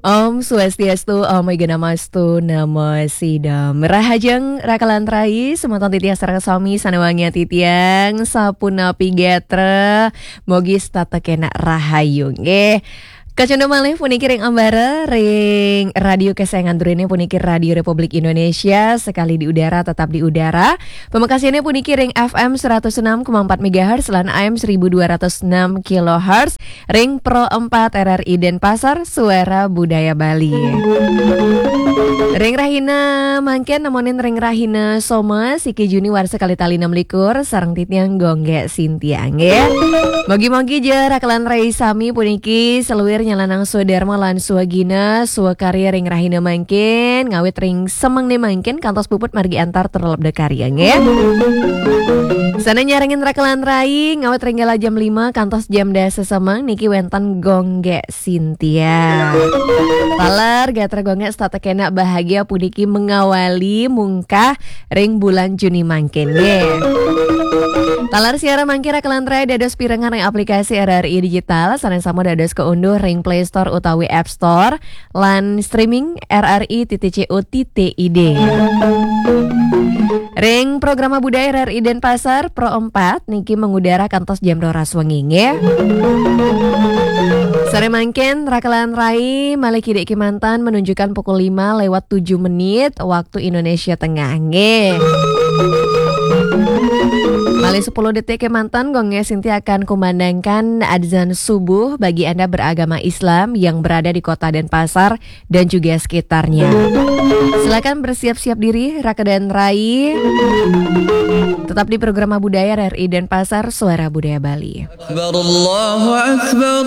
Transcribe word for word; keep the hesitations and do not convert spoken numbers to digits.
Om Swastiastu, Om Awighnamastu, Namo Siddham. Rahajeng rakalan rai, semeton titiang sareng sami sané wangian titiang, sapunapi gatra, mogi setata kénak rahayu nggih. Kacunduk malih puniki ring ambara, ring radio kesayangan druéné puniki Radio Republik Indonesia, sekali di udara, tetap di udara. Pamekasnyané puniki ring F M seratus enam koma empat megahertz lan A M seribu dua ratus enam kilohertz, ring Pro empat R R I Denpasar, Suara Budaya Bali. Ring rahina mangkin nemonin ring rahina Soma, siki Juni warsa kalih tali enam likur, sareng titiang Gonggé Sintia nggih. Mogi-mogi ja rakalan rai sami puniki saluir nyalanang swadarma lan swagina swakarya ring rahina mangkin, ngawit ring semengné mangkin kantos puput margi antar tur lebda karya nggih. Sané nyarengin rakalan rai ngawit ring galah jam lima kantos jam dasa semeng niki wénten Gonggé Sintia. Taler gatra Gonggé setata kénak bahagia puniki mengawali mungkah ring bulan Juni mangkin nggih. Taler siaran mangkin rakalan rai dados pirengang ring aplikasi R R I Digital, sané sampun dados kaunduh ring Play Store utawi App Store, lan streaming R R I titik C O titik I D. Ring programa budaya R R I Denpasar Pro empat niki mengudara kantos jam roras wengi nggih. Sané mangkin rakalan rai malih kidik kémanten menunjukkan pukul lima lewat tujuh menit waktu Indonesia Tengah nggih. Malih sepuluh detik kémanten, Gonggé Sintia akan kumandangkan adzan subuh bagi Anda beragama Islam yang berada di Kota Denpasar dan juga sekitarnya. Silakan bersiap-siap diri, rakalan rai. Tetap di programa budaya R R I Denpasar, Suara Budaya Bali. أكبر الله أكبر